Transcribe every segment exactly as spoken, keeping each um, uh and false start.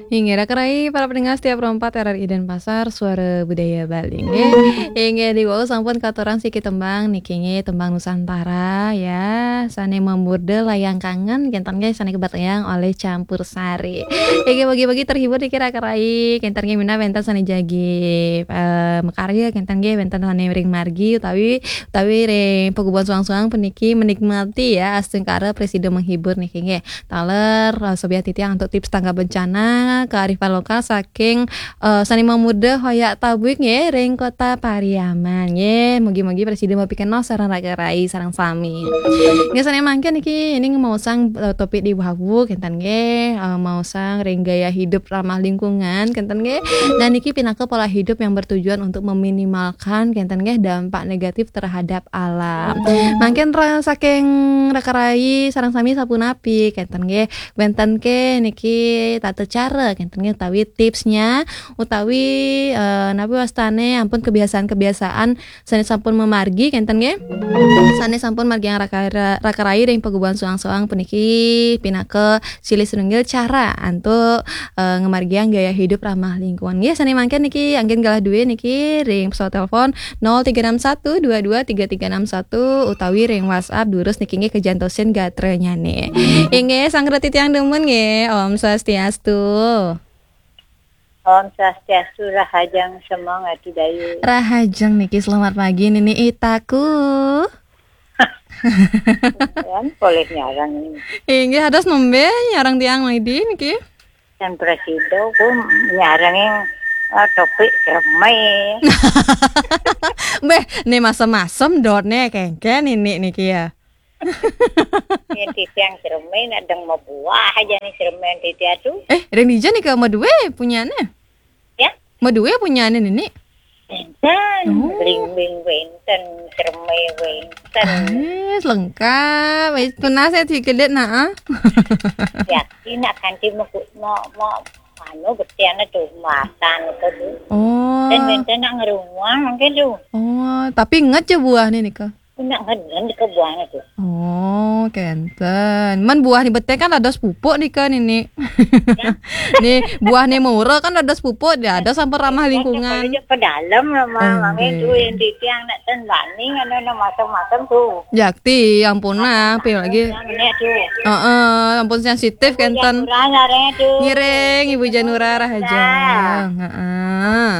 Inggih, raka rai para pendengar setia Pro empat R R I Denpasar, Suara Budaya Bali, nggih. Inggih, diwau sampun katurang siki tembang niki, nggih, tembang Nusantara, ya, sane mamurda Layang Kangen, kenten, nggih, sane kabaktayang oleh Campur Sari. Inggih, mugi-mugi terhibur niki, raka rai, kenten, nggih, minab wenten sane jagi, eh, makarya, kenten, nggih, wenten sane ring margi utawi, utawi ring pagubuhan suang-suang puniki menikmati, ya, astungkara prasida menghibur niki, nggih. Taler, eh, sobiah titiang antuk tips tanggap bencana, kearifan lokal saking, eh, sane mamurda Hoyak Tabuik, nggih, ring Kota Pariaman, nggih. Mugi-mugi prasida mapikenoh sareng raka rai sareng sami. Nggih, sane mangkin niki, ini maosang, eh, topik diwawu, kenten, nggih, eh, maosang ring gaya hidup ramah lingkungan, kenten, nggih. Dan niki pinaka pola hidup yang bertujuan untuk meminimalkan, kenten, nggih, dampak negatif terhadap alam. Mangkin ra-, saking raka rai sareng sami sapunapi, kenten, nggih. Wenten ke niki tata cara, kenten, nggih, utawi tipsnya, utawi, eh, napi wastane ampun kebiasaan-kebiasaan sane sampun mamargi, kenten, nggih. Sane sampun margiang raka, raka rai ring pagubuhan suang-suang puniki pinaka silih sinunggil cara antuk, eh, ngamargiang gaya hidup ramah lingkungan. Nggih, sane mangkin niki anggen galah duwe niki ring pesawat telepon nol tiga enam satu dua dua tiga tiga enam satu utawi ring WhatsApp durus niki, nggih, kajantosin gatranyane. Inggih, sang reti tiang demen, nggih. Om Swastiastu. Om Swastiastu, rahajeng semeng Atu Dayu. Rahajeng niki, selamat pagi Nini Itaku. Kan boleh nyarang ini. Inggih, ados nembe nyarang tiang Maidi niki? Dan prasida ku nyarang yang, ah, topik cerme. Beh, ne masem-masem dot ne kengken ini niki ya. Ini tiang cerme nak deng mabuah aja nih cerme titi atu. Eh, ring dija nika madue punyane? Ya? Madue punyane nini? Wenten, oh. Blimbing wenten, cerme wenten. Ah, lengkap. Eh, tunas saya tiga dek nak, ah. Ya, ini kanti mau, mau, mau, anu, betiana tuh, matan itu tuh. Oh. Dan wenten nak ngerumuang mungkin tuh. Oh, tapi inget ya buah nih nika. Nak ngeden di kebuahnya tuh. Oh, kenten. Man buah ni bete kan dados pupuk nika nini. Ya. Ni buah ni murah kan dados pupuk, dia ada sampun ramah lingkungan. Kalau ke dalam lah, Mama. Nggih. Itu yang di tiang nak ten bani, anu, anu, macam-macam tuh. Jakti, ampun nah, pi lagi. Yang ini tuh. Heeh, ampun sensitif kenten. Janura nyarengnya tuh. Ngiring, Ibu Janura rahajeng. Heeh.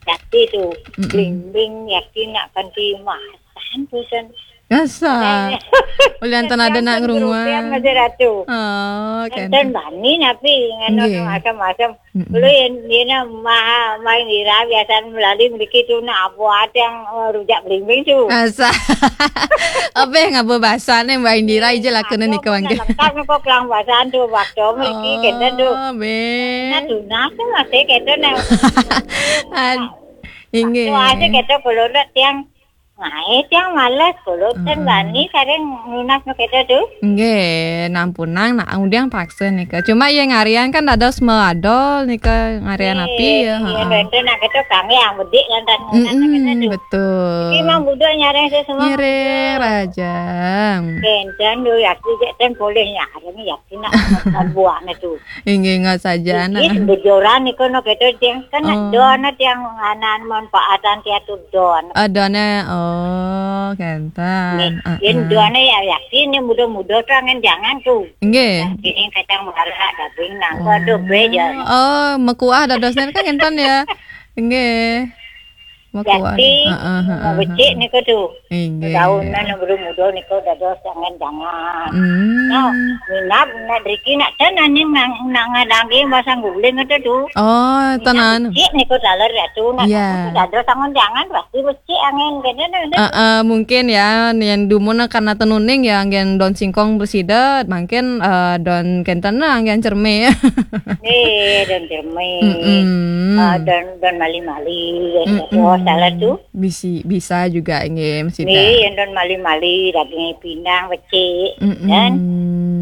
Jakti tuh. Mm-mm. Blimbing, yakti nak kanti mah. Tahan, bosan. Asa. Ulian ten ada nak ngrunguang. Masih Ratu. Oh, kan. Dan bani napi nganu macam-macam. Mm-mm. Dulu yang dia nak maha main ira biasa melali mereka tu nak apa ada yang, eh, rujak belimbing tu. Asa. Apa yang ngaba bahasa ni Mbak Indira ija lakuna nika mangke. Lengkap ni kok kelang bahasa tu waktu mereka kena tu. Oh, be. Nah, tu nak tu masih kena nak. Ad-, inggih. Tu aja kena kalau nak tiang Nah, eh, tiang males, kulo ten bani sareng nunas nu keto tu. Nggih, nampunang nak undiang paksa nika. Cuma ya ngarian kan dados meadol nika, ngarian api ya, heeh. Iya, nak keto kami yang bedik kan, kan, kan, kan, kan, tu. Betul. Iki mang budak nyareng sesama. Ngiring, rahajeng. Kenten tu, ya, iki jek ten boleh nyareng, ya, iki nak buahnya tu. Inggih, ingat saja, nah. Iki bojoran niku no keto tiang kan, oh. Don tiang anan manfaatan tiatu don. Ah, done, oh, kenten. Nih, heeh. Yen done ya yakin nih muda-muda tuh angen jangan tuh. Inggih. Nah, ini kacang merah, daging nangka tuh, be, ya. Oh, mekuah dadosnya kan kenten ya. Inggih. Makuan. Jati, heeh, heeh, becik heeh. Niku tu. Inggih. Daun nan muda-muda niku dados jangan-jangan. Hmm. Nah, minap nak driki nak tenan ni nang, nang ngadangke masang guling itu tu. Oh, tenan. Becik niku taler ya tu, nak, iya. Dados jangan-jangan pasti becik angin kene. Heeh, mungkin ya, yang dumun karena tenuning ya, angin daun singkong bersida, mungkin, eh, daun kenten angin cerme. Nih, daun cerme. Mm-mm. Eh, daun, daun mali-mali, ya, mm-mm. Salah tu. Bisi, bisa juga, nggih, Mas Ida. Nggih, yen don mali-mali, daging pinang, becik, mm-mm. Kan?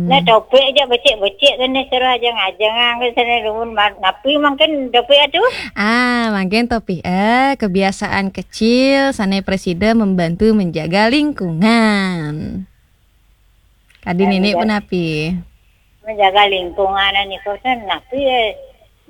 Nah, topik aja becik-becik, kan, seru aja ngajeng, kan, sana rumun ma-, napi mungkin topik itu? Ah, mungkin topik, eh, kebiasaan kecil, sana presiden membantu menjaga lingkungan. Tadi eh, Nini pun api. Menjaga lingkungan niku ten napi ya,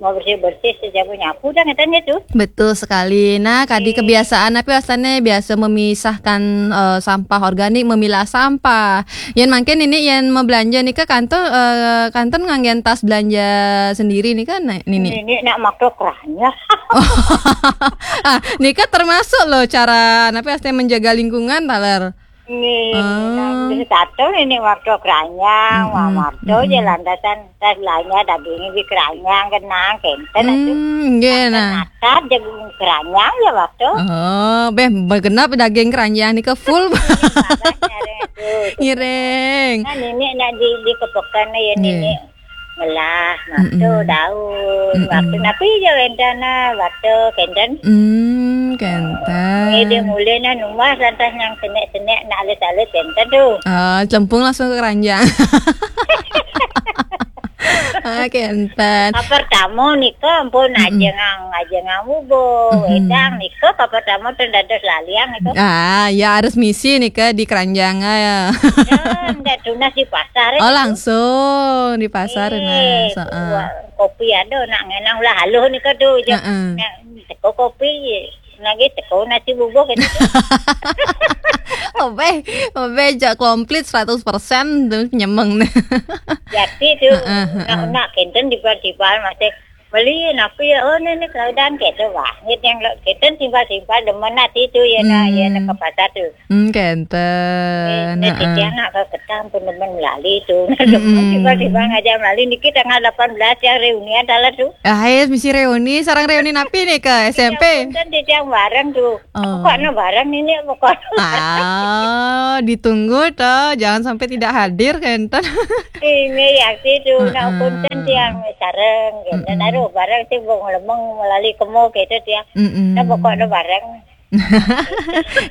mau bersih-bersih, saja nyapu dah katanya tu. Betul sekali. Nah, kadi kebiasaan napi asalnya biasa memisahkan eh, sampah organik, memilah sampah. Yen mangkin ini yen mau belanja nika kantor eh, kantor nganggen tas belanja sendiri nika, Nini? Ini nak makro keranya. Ah, nika termasuk loh cara napi asalnya menjaga lingkungan, taler. Nih, ah. Nah, terus satu ini waktu keranjang, mm-mm, waktu aja lantasan tas belanja dagingnya di keranjang, kenang, kenten itu. Hmm, nggih, nah. Natap jagung keranjang ya waktu. Oh, beh, begenap daging keranjang nika full. Ngiring. Nah, nenek nak di, di kepekan ya, nggih, nenek. Melah, waktu daun, waktu napi aja wenten, nah, waktu kenten. Hmm, kenten. Eh, dia mulai nah numbas lantas yang senek-senek nak alit-alit kenten tu. Ah, cempung langsung ke keranjang. Ah, kenten. Ah, pertama nika ampun aja ngang, aja ngang bubuh, wedang nika ka pertama tu dados laliang nika. Ah, ya harus misi nika di keranjang ya. Ya, ndak tunas di pasar. Oh, langsung di pasar, eh, nah, soal kopi ada nak ngenang ulah haluh nika tu je. Heeh. Nak teko kopi je. Lagi teko nasi bubuh gitu. Obeh, obeh jak komplit seratus persen tu nyemeng nih. Jadi tu, heeh, nak, heeh, nak kenten tiba-tiba masih beli napi ya, oh, nenek kelaudan gitu, wah. Nit yang lo-, kenten tiba-tiba demen hati tu ya, nah, ya, nak ke pasar tu. Hmm, kenten. Eh, nah, heeh, titiang nak ke ketang pun demen melali tu. Nah, demen tiba-tiba ngajak melali niki tanggal delapan belas yang reunian dalam tu. Ah, ya, misi reuni, sarang reuni napi nih ke S M P? Kan titiang bareng tu. Oh. Pokoknya bareng ini pokoknya. Ah, ditunggu toh, jangan sampai tidak hadir kenten. Ini ya sih tu, nak, mm-mm, kenten tiang sareng kenten. Mm-mm. Aduh, bareng sih bung lemeng melali kemo gitu tiang. Mm-mm. Nah, pokoknya bareng.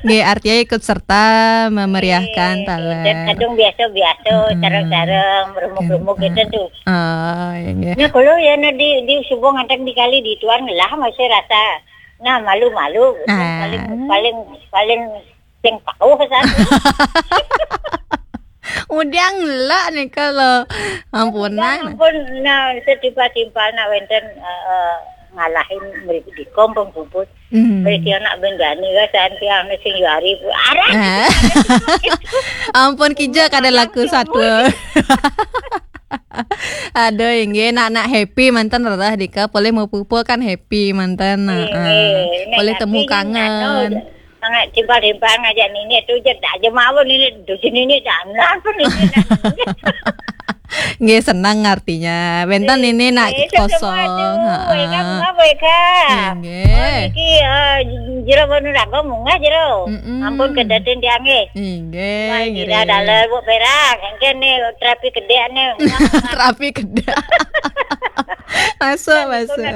Nggih, artinya ikut serta memeriahkan, eh, taler. Dan kadung biasa-biasa, mm-mm, sareng-sareng, beremuk-remuk gitu tuh. Oh, iya, nggih. Nah, kalau ya, nah, di, di subuh ngantek di kali di tuan lah masih rasa, nah, malu-malu. Ah. Paling, paling, paling sing tahu satu. Udah ngelak nih kalau ampunan. Ampun, nah, setimpal-timpal nak wenten, eh, eh, ngalahin mriki di kompong puput. Hmm. Mriki anak bendani ya, santi anu sing yuari. Arah. Ah. Ampun, kija kada laku satwa. Aduh, inggih, nak, nak happy mantan rereh dika, boleh mau pupuk kan happy mantan. Nah, inggih, ah, boleh nak temu happy kangen. Anu, sangat timpal-timpal ngajak nini tu je, tak aja mawon nini, duji nini dah, ampun nini dah. Nggih, senang artinya. Wenten nini nak, eh, kosong. Sesuatu. Ha, Eka, ah, mengapa Eka? Nggih. Oh, niki, eh, jero wonu raga munggah jero. Mm-mm. Ampun kedaten tiang nggih. Nggih, wah, nggih. Tidak dalam Bu Perak. Mungkin nih terapi kedek nih. Terapi kedek. Masuk, kan, masuk.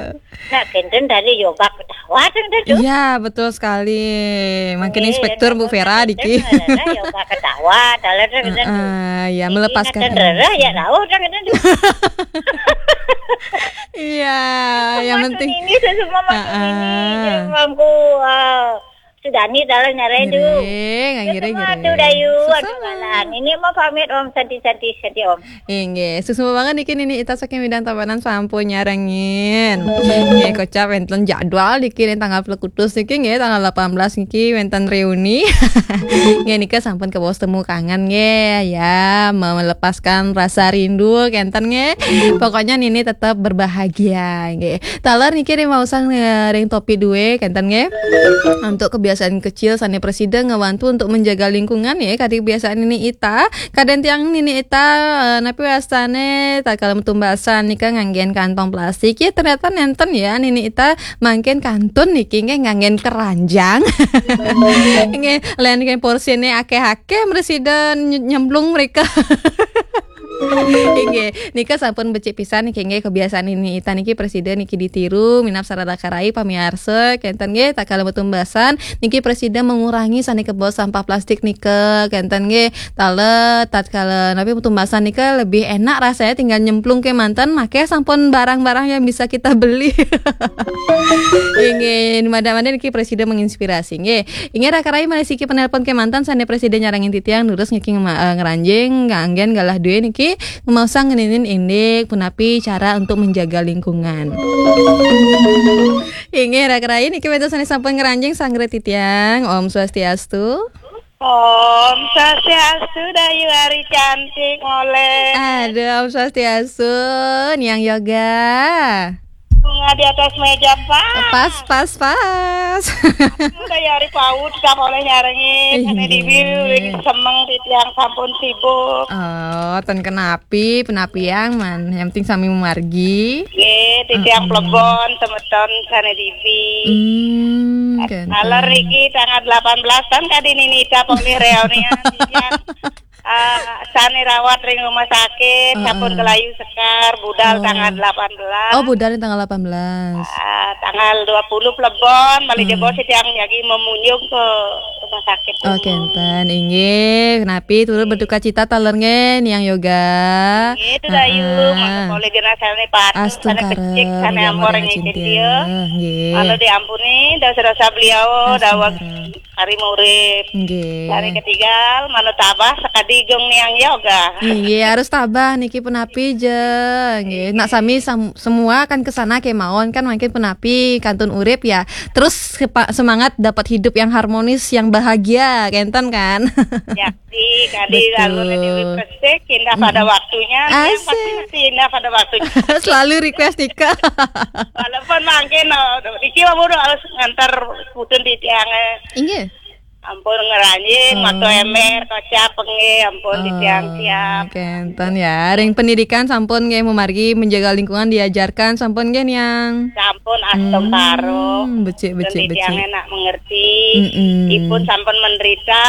Nak kenten tadi yoga ketawa kan tu. Iya, betul sekali. Makin eh, inspektur Bu Vera diki. Yoga ketawa, dalam kan tu. Heeh, ya, melepaskan emosi. Rereh ya tahu kan tu. Iya, yang penting ini semua masuk ini. Heeh. Jadi mangku, ah, Sudani dalam nyarai tu. Ngiring, ngiring, ngiring. Sesama tu Dayu, aduh, malah. Ini mau pamit Om, santi-santi, santi Om. Inggih, suksma banget niki Nini Ita saking Widang Tabanan sampun nyarengin. Nggih, kocap wenten jadwal niki ning tanggal pelekutus niki nggih, tanggal delapan belas niki wenten reuni. Nggih, nika sampun kebaos temu kangen nggih, ya, melepaskan rasa rindu kenten nggih. Pokoknya Nini tetap berbahagia nggih. Taler niki ring maosang, eh, ring topi due kenten nggih. Untuk kebiasaan kecil sane presida ngewantu untuk menjaga lingkungan nggih, kadi kebiasaan Nini Ita. Kadang tiang Nini Ita, eh, napi wastane tatkala metu basang nika nganggen kantong plastik. Ya, ternyata nenten ya, Nini Ita mangkin kantun niki nggih nganggen keranjang. Nggih, lain nggih porsine akeh-akeh mresida ny-, nyemplung mereka. Inggih, nika sampun becik pisan niki nggih kebiasaan Nini Ita niki presida niki ditiru, minab sareng raka rai pamiarsa kenten nggih tatkala metu basang niki presida mengurangi sane kebaos sampah plastik nika kenten nggih. Taler, tatkala napi metu basang nika lebih enak rasanya tinggal nyemplung ke manten, make sampun barang-barang yang bisa kita beli. Inggih, mada-mada niki presida menginspirasi nggih. Inggih raka rai malih siki penelpon ke manten sane presida nyarengin titiang nurus niki ngema-, eh, ngranjing nganggen galah due niki. Mau sang ngeninin indik punapi cara untuk menjaga lingkungan. Inggih, raka rayi niki wénten sané sampun ngranjing sanggra titiang. Om Swastiastu. Om Swastiastu, Dayu Ari cantik moleh. Aduh, Om Swastiastu, Niang Yoga. Bunga di atas meja, Pak. Pas, pas, pas. Udah ya hari paut, kita boleh nyarengin. Ih, Ane Diwi, iya. Semeng titiang sampun sibuk. Oh, ten kenapi, penapiang man. Yang penting sami memargi. Nggih, titiang Mm-mm. Plebon, semeton, Sane Diwi. Hmm, kenten. Aler iki tanggal delapan belas tahun kadi nini ita polih reunian, titiang. Ah, sane rawat ring rumah sakit, Heeh. Sampun kelayu sekar, budal Oh. Tanggal delapan belas. Oh, budal tanggal delapan belas. Ah, tanggal dua puluh Plebon, bali Hmm. Debo sedang lagi memunjung ke rumah sakit Oh, dulu. Kenten, inggih. Napi turut berduka cita taler nggih, Niang Yoga. Nggih, itu Dayu, Heeh. Mangga polih genah sane patuh, Astungkara, sane becik, sane mugi amor ampun nggih, Cintia. Cintia. Nggih. Kalau diampuni dosa-dosa beliau, daweg Astungkara. Hari murid. Nggih. Dari ketigal, manut tabah sakadi gung Niang Yoga. Nggih, harus tabah niki punapi je. Nggih. Nak sami sam-, semua kan ke sana kemauan kan makin punapi kantun urip ya. Terus sepa-, semangat dapat hidup yang harmonis, yang bahagia, kenten kan? Yakti, kadi Betul. Lagu Dewi Persik, Indah Pada Mm-mm. Waktunya. Yang pasti Asik. Mesti indah pada waktunya. Selalu request nika. Walaupun mangkin, oh, iki wau harus ngantar putun di tiang, eh. Inggih. Ampun ngeranjing, Oh. Mato ember, kocap, nggih, ampun Oh, ditiang siap. Kenten ya. Ring pendidikan sampun nggih memargi menjaga lingkungan diajarkan sampun nggih Niang. Sampun astungkara. Hmm, becik, becik, Dadi tiang becik. Enak mengerti. Mm-mm. Ipun sampun menderita.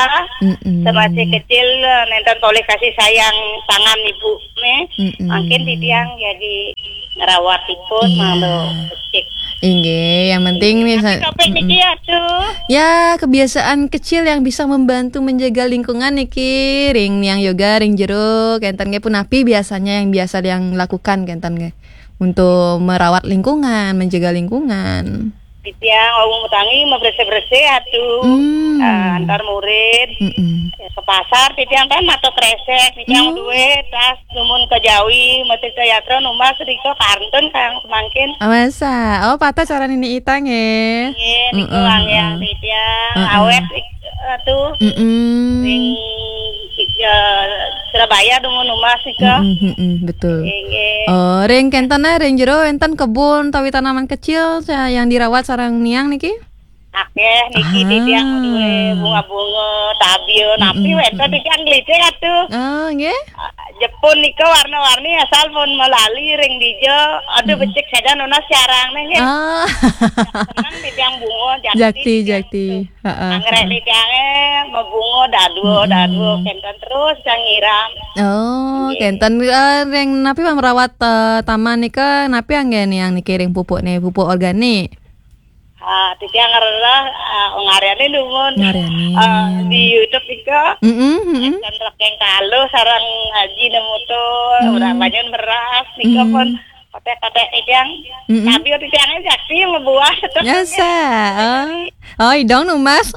Mm-mm. Semasa kecil, eh, nenten polih kasih sayang tangan ibu nih. Mm-mm. Mungkin di tiang jadi ngerawat ipun Iya. Malu becik. Inggih, yang penting nih Tapi sa-, topik mm-mm. Niki ya tuh. Ya, kebiasaan kecil yang bisa membantu menjaga lingkungan niki, ring Niang Yoga, ring jero, kenten nggih punapi biasanya yang biasa yang lakukan kenten nggih. Untuk merawat lingkungan, menjaga lingkungan. Titiang wau mutangi bersih-bersih atuh. Hmm. Eh, antar murid. Mm-mm. Ya, ke pasar titiang kan mato kresek, titiang Hmm. Duwe tas dumun ke Jawi, mesti ke yatra numbas riko kantun kang semangkin. Oh, masa? Oh, patah cara nini itang ya. Iya, niku Mm-mm, yang mm-mm. Titiang Mm-mm. Awet ik-, atuh. Mm-mm. Ring, ik-, eh, Surabaya dumun numbas riko. Mm-mm, mm-mm, betul. Inggih. Oh, ring kenten nah, ring jero enten kebun tawi tanaman kecil sa-, yang dirawat sarang Niang niki? Akeh niki Ah. Titiang duwe bunga-bunga, tabia, napi Mm-mm, wénten mm-mm. Titiang nglitik atuh. Oh, nggih. Ah, Jepun nika warna-warni asal pun melali ring dija. Aduh, Mm-mm. Becik saja nunas carang nggih. Ah. Seneng titiang bunga, jakti Jakti, titiang jakti. Tuh. Heeh, Anggrek heeh. Titiange mabunga dadua, Mm-mm. Dadua kenten terus sang nyiram. Oh, nggih. Kenten, eh, ring napi merawat, eh, taman nika, napi anggen yang niki ring pupuk nih, pupuk organik? Ah, titiang ngerereh, ah, ngaryani dumun. Ngaryani. Ah, di YouTube nika. Mm-mm, mm-mm. Kan rekeng kaluh sareng Haji Nemuto, Mm. Ora banyak beras, nika Mm. Pun kotek-kotek titiang. Mm-mm. Tapi titiangnya jakti ngebuah tetep. Biasa. Oh. Oh, idong numbas.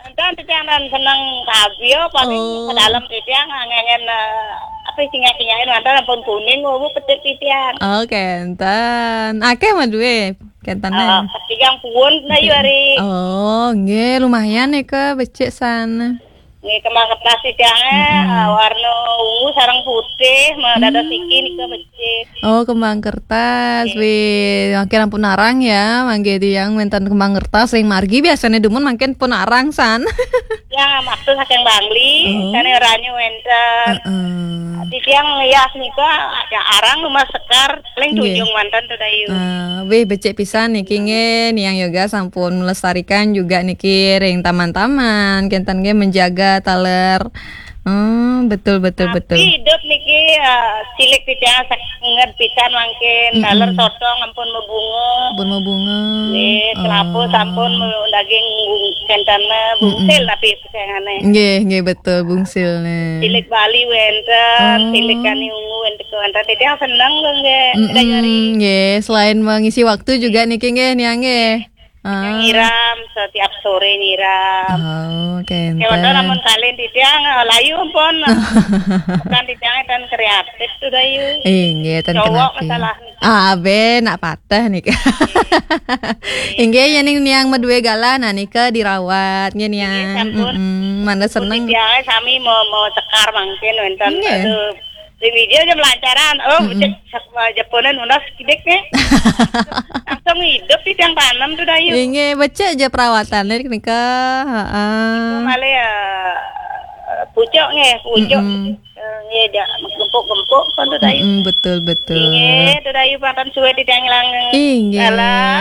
Enten titiang dan seneng kabio paling Oh. Ke dalam titiang ngengen, eh, apa singa-singain mantan pun kuning, wau petik titiang. Oh, kenten. Akeh mah duwe. Kentane. Ah, ketigang puun, nah, yu hari. Oh, nggih, lumayan nika becik sana. Nggih, kembang kertas titiange, Mm-mm. Ah, warna ungu sareng putih, mah dada Hmm. Siki nika becik. Oh, kembang kertas. Nggih. Wih, makin ampun arang ya, mangke tiang wenten kembang kertas ring margi biasanya dumun makin pun arang san. Ya, maksud saking Bangli, oh. Sane ranyu wenten. Heeh. Titiang ya nika ya arang rumah sekar. Paling nggih. Tunjung mantan tuh, Dayu. Nah, wih, becik pisan niki nggih, Niang Yoga sampun melestarikan juga niki ring taman-taman, kenten nggih menjaga taler. Hmm, betul, betul, tapi betul. Hidup niki, eh, cilik titiang sanget pisan mangkin, mm-mm. Taler sotong ampun mebunga. Ampun mebunga. Nggih, kelapa oh. Sampun me-, daging bung-, kentana bungsil mm-mm. Tapi Sayangane. Nggih, nggih, betul, bungsilne. Tilik Bali wenten, oh. Tilik Kani Ungu wenten, wenten. Titiang seneng lho, nggih. Mm-mm, Dayu Ari. Nggih, selain mengisi waktu juga niki, nggih, Niang, nggih. Ah. Nyiram, setiap sore nyiram. Oh, kénten. Lamun kalian titiang, eh, layu pun. Bukan titiang dan kreatif tuh, Dayu. Inggih, ten. Cowok kenapi. Masalah. Ah, abe, nak patah nih. Inggih, ya ning niang madue galah, nah nika dirawat, nggih niang. Inggih, sampun. Mm-mm, mana seneng. Titiang sami mau, mau sekar mangkin wénten. Inggih. Aduh, di video aja melancaran. Oh, mm-mm. Cek, sak-, Japonan nunas kidik nih. Langsung hidup di tiang tanam tuh, Dayu. Inggih, becik aja perawatannya nika. Heeh. Itu malah ya, pucuk nggih, pucuk. Mm-mm. Eh, nggih, ja, gempuk-gempuk kan tuh, Dayu. Mm-mm, betul, betul. Inggih, tuh, Dayu, pangkan suwe di tiang ilang. Inggih. Alah,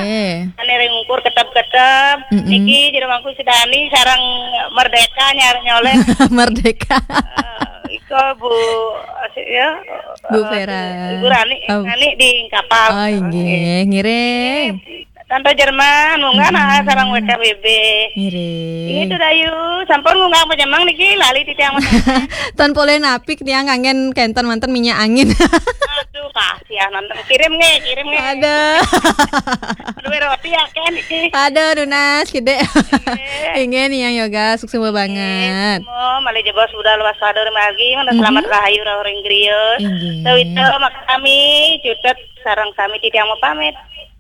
ane ring ukur ketep-ketep. Mm-mm. Niki jero mangku sedani sarang merdeka nyar nyoleh. Merdeka. Eh, iko Bu, ya, Bu Vera. Ibu Rani, oh. Rani di kapal. Oh, inggih, ngiring. Tante Jerman, munggah nah, sarang W K B B. Ngiring. Itu Dayu, sampun munggah apa jemang niki, lali titiang. Tan polih napik tiang kangen kénten manten minyak angin. Aduh, kasihan nonton. Kirim nggih, kirim nggih. Ada. Duwe roti ya, Ken, iki. Ada, nunas, gede. Inggih. Inggih, niang Yoga, suksma banget. Semua, malih jebos budal waspada margi, mana selamat rahayu, rauh ring griya. Inggih. Sawita, makami, cutet, sareng sami titiang mau pamit.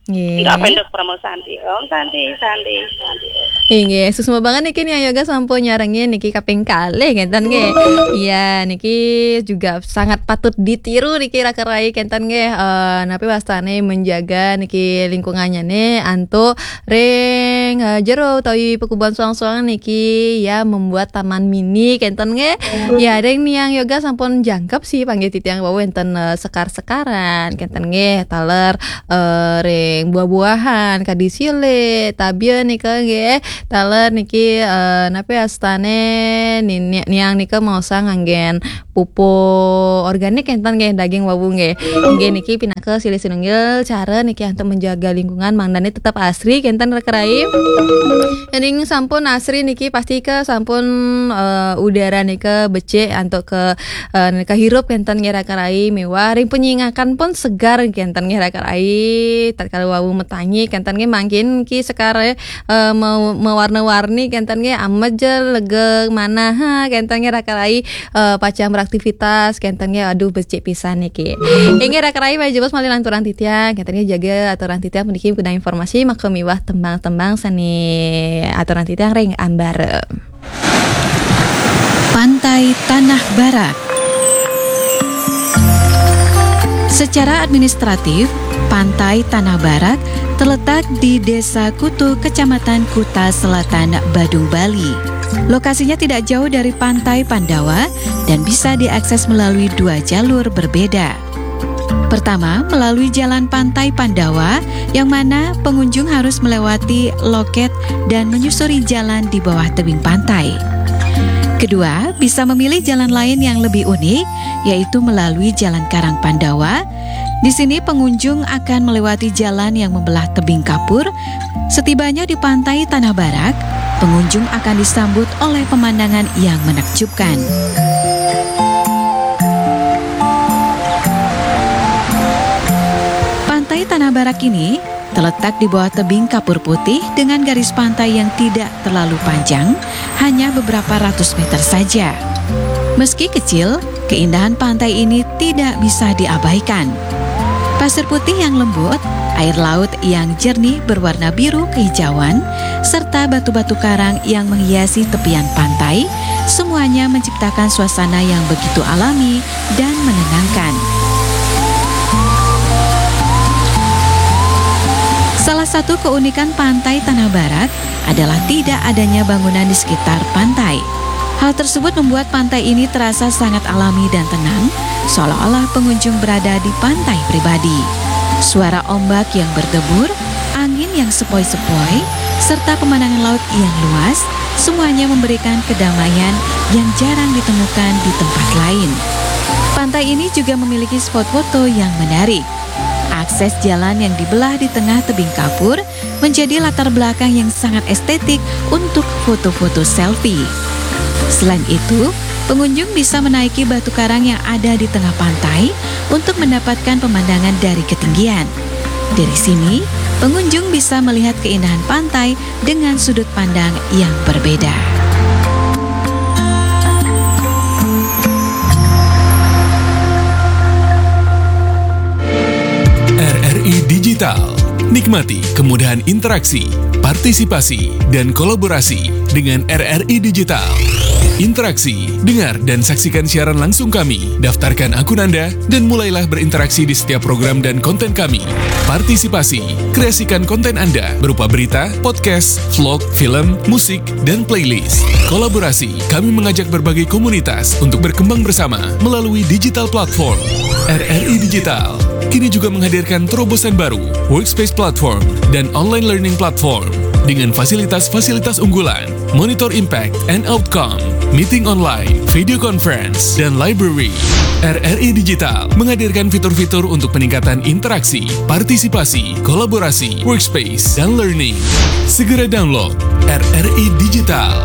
Nggih. Enggak pendek promo Santi. Om Santi, Santi, Santi. Inggih, suksma banget niki niang Yoga sampun nyarengin niki kaping kalih, ngénten nggih. Iya, niki juga sangat patut ditiru niki raka rai, ngénten nggih. Eh, napi wastane menjaga niki lingkungannya nih antuk ring, eh, jero utawi pekubuan suang-suang niki ya membuat taman mini, ngénten nggih. Ya, ring niang Yoga sampun jangkep sih panggih titiang wau wénten, eh, sekar-sekaran, ngénten nggih, taler eh, ring buah-buahan, kadi silik, tabia nika nggih. Taler niki, eh, napi astane ni-, ni-, niang nika maosang nganggén pupuk organik enten nggih, daging wau nggih. Inggih niki pinaka silih sinunggil cara niki antuk menjaga lingkungan mangdane tetep asri kenten raka rai. Yen sampun asri niki pasti ke sampun, eh, udara nika becik antuk ke eh, nika hirup kenten nggih raka rai miwah ring penyingakan pun segar kenten nggih raka rai. Tatkala wau metangi kenten nggih mangkin ki sekar, eh, me-, mewarna-warni kenten nggih ameja lega manah kenten nggih raka rai, eh, pacang beraktivitas kenten nggih aduh becik pisan niki. Inggih raka rai malih jebos malih lanturan titiang kenten nggih jaga aturan titiang puniki kena informasi maka miwah tembang-tembang sane aturan titiang ring ambara. Pantai Tanah Barak. Secara administratif, Pantai Tanah Barak terletak di Desa Kutu, Kecamatan Kuta Selatan, Badung, Bali. Lokasinya tidak jauh dari Pantai Pandawa dan bisa diakses melalui dua jalur berbeda. Pertama, melalui jalan Pantai Pandawa, yang mana pengunjung harus melewati loket dan menyusuri jalan di bawah tebing pantai. Kedua, bisa memilih jalan lain yang lebih unik, yaitu melalui Jalan Karang Pandawa. Di sini pengunjung akan melewati jalan yang membelah tebing kapur. Setibanya di Pantai Tanah Barak, pengunjung akan disambut oleh pemandangan yang menakjubkan. Pantai Tanah Barak ini terletak di bawah tebing kapur putih dengan garis pantai yang tidak terlalu panjang, hanya beberapa ratus meter saja. Meski kecil, keindahan pantai ini tidak bisa diabaikan. Pasir putih yang lembut, air laut yang jernih berwarna biru kehijauan, serta batu-batu karang yang menghiasi tepian pantai, semuanya menciptakan suasana yang begitu alami dan menenangkan. Salah satu keunikan Pantai Tanah Barak adalah tidak adanya bangunan di sekitar pantai. Hal tersebut membuat pantai ini terasa sangat alami dan tenang, seolah-olah pengunjung berada di pantai pribadi. Suara ombak yang berdebur, angin yang sepoi-sepoi, serta pemandangan laut yang luas, semuanya memberikan kedamaian yang jarang ditemukan di tempat lain. Pantai ini juga memiliki spot foto yang menarik. Akses jalan yang dibelah di tengah tebing kapur menjadi latar belakang yang sangat estetik untuk foto-foto selfie. Selain itu, pengunjung bisa menaiki batu karang yang ada di tengah pantai untuk mendapatkan pemandangan dari ketinggian. Dari sini, Pengunjung bisa melihat keindahan pantai dengan sudut pandang yang berbeda. R R I Digital. Nikmati kemudahan interaksi, partisipasi, dan kolaborasi dengan R R I Digital. Interaksi, dengar dan saksikan siaran langsung kami, daftarkan akun Anda, dan mulailah berinteraksi di setiap program dan konten kami. Partisipasi, kreasikan konten Anda berupa berita, podcast, vlog, film, musik, dan playlist. Kolaborasi, kami mengajak berbagai komunitas untuk berkembang bersama melalui digital platform. R R I Digital kini juga menghadirkan terobosan baru, Workspace Platform dan Online Learning Platform dengan fasilitas-fasilitas unggulan, monitor impact and outcome, meeting online, video conference, dan library. R R I Digital menghadirkan fitur-fitur untuk peningkatan interaksi, partisipasi, kolaborasi, workspace, dan learning. Segera download R R I Digital.